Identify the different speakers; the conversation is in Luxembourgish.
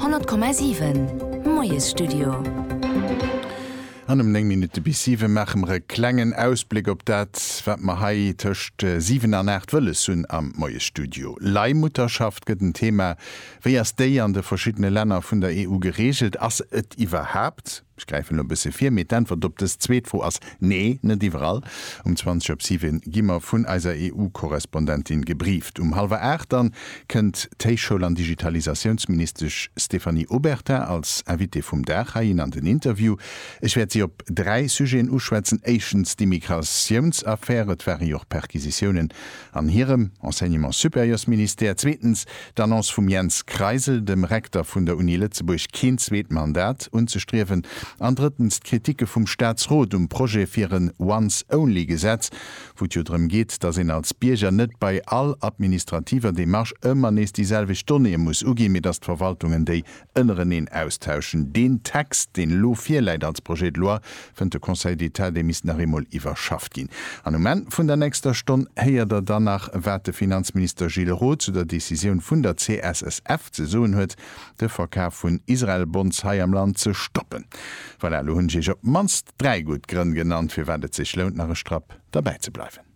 Speaker 1: 100,7 Moiesstudio.
Speaker 2: An um 9 Minutte bis 7 maache mer e klengen Ausbléck op dat, wat mer hei tëscht 7 an 8 wëlles hunn am Moiesstudio. Leihmutterschaft gëtt en Thema. Wéi ass déi an de verschiddene Länner vun der EU gereegelt? Ass et iwwerhaapt? Ech gräifen elo e bësse vir, mee d'Äntwert op dës zweet Fro ass Nee, net iwwerall. Um 20 op 7 gi mer vun eiser EU-Korrespondentin gebrieft. Um hallwer 8 dann kënnt d'Héichschoul an Digitalisatiounsministesch Stéphanie Obertin als Invitée vum Dag heihin an den Interview. Ech wäert si op 3 Sujeten uschwätzen. Éischtens d'Immigratiounsaffär, et ware jo och Perquisitiounen an hirem Enseignement supérieurs-Ministère. Zweetens d'Annonce vum Jens Kreisel, dem Rekter vun der Uni Lëtzebuerg, keen zweet Mandat unzestriewen. An drëttens d'Kritike vum Staatsrot um Projet fir en Once-Only-Gesetz, wou et jo drëm geet, datt een als Bierger net bei all administrativer Demarche ëmmer nees déi selwecht Donnéeë muss uginn, mee datt d'Verwaltungen déi ënnereneen austauschen. Deen Text, deen elo virläit als Projet de loi, fënnt de Conseil d'État, dee misst nach eemol iwwerschafft ginn. An um Enn vun der nächster Stonn héiert Der dann nach, wat de Finanzminister Gilles Roth zu der Decisioun vun der CSSF ze soen huet, de Verkaf vun Israel-Bonds hei am Land ze stoppen. Voilà, elo hunn ech Iech op d'mannst 3 gutt Grënn genannt, firwat et sech lount, nach e Strapp derbäi ze bleiwen.